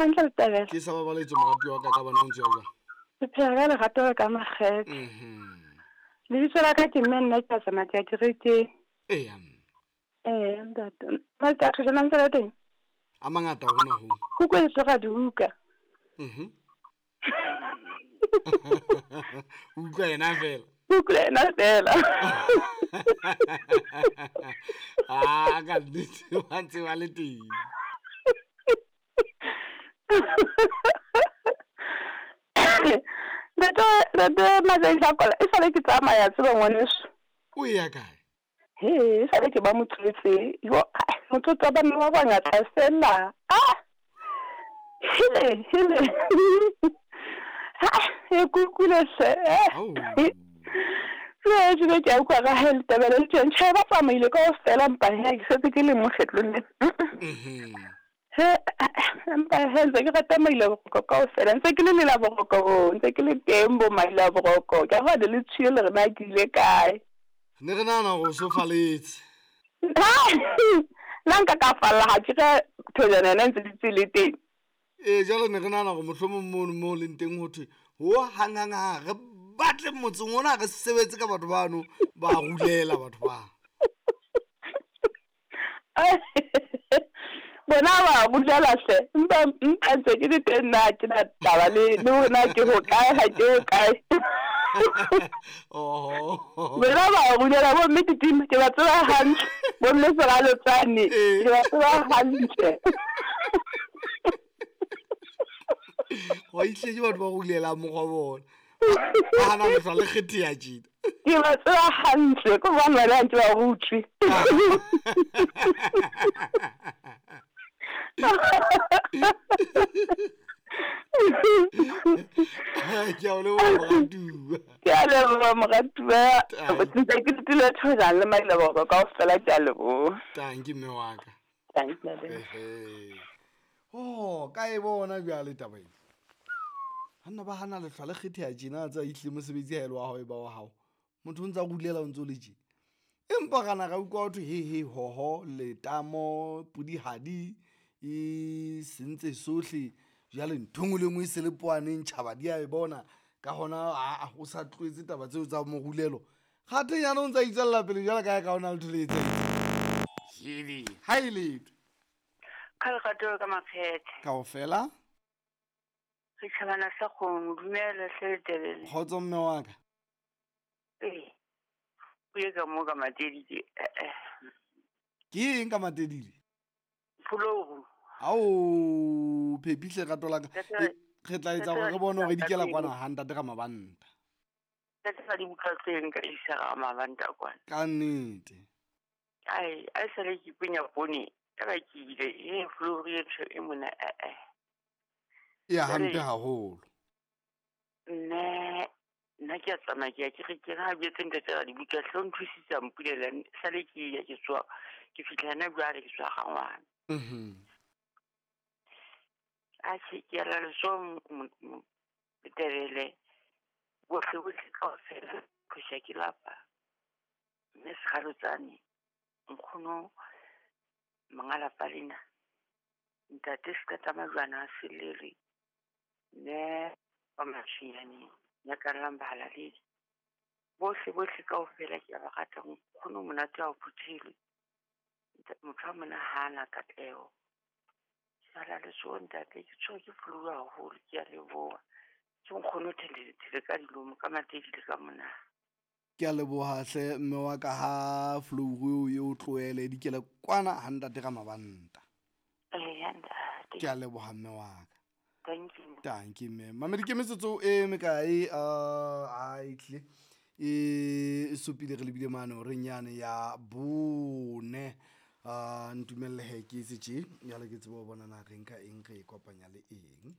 Hantle Letebele. Ke sa babaletse moratuwa wa ka ka bona o ntse ya jwang. Ke phela ka lerato le ka makgethe. Mhm. Lebitso la ka ke mme nna ke a tsamaya ke ya kerekeng. Eya mme. Ee ntate. Matsatsi a thojana ntse le teng? A mangata hona ho. Kuku e tloga dibuka. Mhm. O utlwa yena fela. Utlwa yena fela. Ah, ka nnete ba ntse ba le teng. Ntate ntate Matsatsi a kola e sale ke tsamaya tseba ngwaneso. O ya kae? He, e sale ke ba motswetse. Yo, motsotso wa banna ba bangata fela. Ah! Hele, hele. Ha, e kukule hle. Au. Jwale jwale ke a utlwa ka he letebele le tjeng. Tjhe, ba tsamaile kaofela empa he ke setse ke le mo kgetlong lena. Mhm. He, empa he ntse ke rata maila boroko kaofela. Ntse ke le lela boroko, ntse ke le teng bo maila boroko. Ke a bona le tshiyo le re na ke ile kae. Ne re nahana hore o so faletse. Nna nka ka falla ha ke re thojana yona ntse di le teng. Ee, jwale ne re nahana hore mohlomong mono mo leng teng ho thwe ho hang hang ha re batle motseng ona re sebetse ka batho bano ba rulela batho ba. Bona ba rulela hle. Empa empa ntse ke le teng nna ha ke na taba le le hore na ke hokae ha ke hokae. Oho. Bona ba rulela bo mme Titima ke ba tseba hantle. Bo mme Seralotsane Ee. ke ba tseba hantle. Wa ihle ke batho ba rulelang mokgwa bona. Ba hana lehlwa le kgetheha tjena. Ke ba tseba hantle ke hobane bana ha ntse ba rutswe. Ke a o leboha moratuwa. Ke a leboha moratuwa. Ntse ke dutile thojana le maila boroko kaofela ke a leboha. Tanki mme wa ka. Thanks, Ntate. Ehe. Oh, ka e bona bjale taba ena. Banna ba hana lehlwa le kgetheha tjena a tsa ihle mosebetsi ha e le wa hao e ba wa hao. Motho o ntsa rulela o ntso le tje. Empa ra na ra utlwa ho thwe he he hoho letamo pudihadi e sentse sohle jwale ntho e nngwe le nngwe e se le poaneng tjhaba di a e bona ka hona aa o sa tlohetse taba tseo tsa morulelo. Kgathe nyana o ntsa itswella pele jwale ka ka hona letho le etsahetseng. Hele, ha e letho. Ka lerato ka makgethe. Kaofela. Setjhabana sa kgomo, dumela hle Letebele. Kgotso mme wa ka. Ee. O ye ka mo ka Matedile. Eh. Ke eng ka Matedile? Phologu. Ao, phepihle rato la ka. Ntate- Re tla etsa hore re bone hore di kela kwana ha ntate ka mabanta. Ntate ga di buka tse nka isa ga mabanta kwana. Ka nnete. Ai, ai sale ke punya poone, ka ba ke ile, e flouru e ntho e mona eh. E ya hampe haholo. Nne nna ke a tsamaya ke ya kerekeng ha jwetse ntate ga di buka hle o nthusitse a mpulela sale ke ya ke tswa ke fihla hana jwale ke tswa ga ngwana. Mhm. Atjhe ke a la letsoho Letebele bohle bohle kaofela phosha ke lapa. Mme Sekgalotsane nkgono monga lapa lena. Ntate Sekata Majwana a Selere mme wa Mashinyaneng nyakallang bahalaledi. Bohle bohle kaofela ke a ba rata nkgono monate ha o phuthelwe. Motho a mona hana katleho. Ke ala letsoho ntate ke tshwerwe ke flu haholo ke a leboha. Ke nkgono thelele ka dilomo ka Matedile ka mona. Ke a leboha hle mme wa ka ha flouru eo e o tlohele di kele kwana ha ntate ka mabanta. Eya ntate. Ke a leboha mme wa ka. Thank you. Thank you mme. Mamedi ke metsotso e mekae a itle e supile re lebile mane horeng yane ya bone. Ntumelle he ke etse tje, jwale ke tsebe ho bona na re nka eng re e kopanya le eng.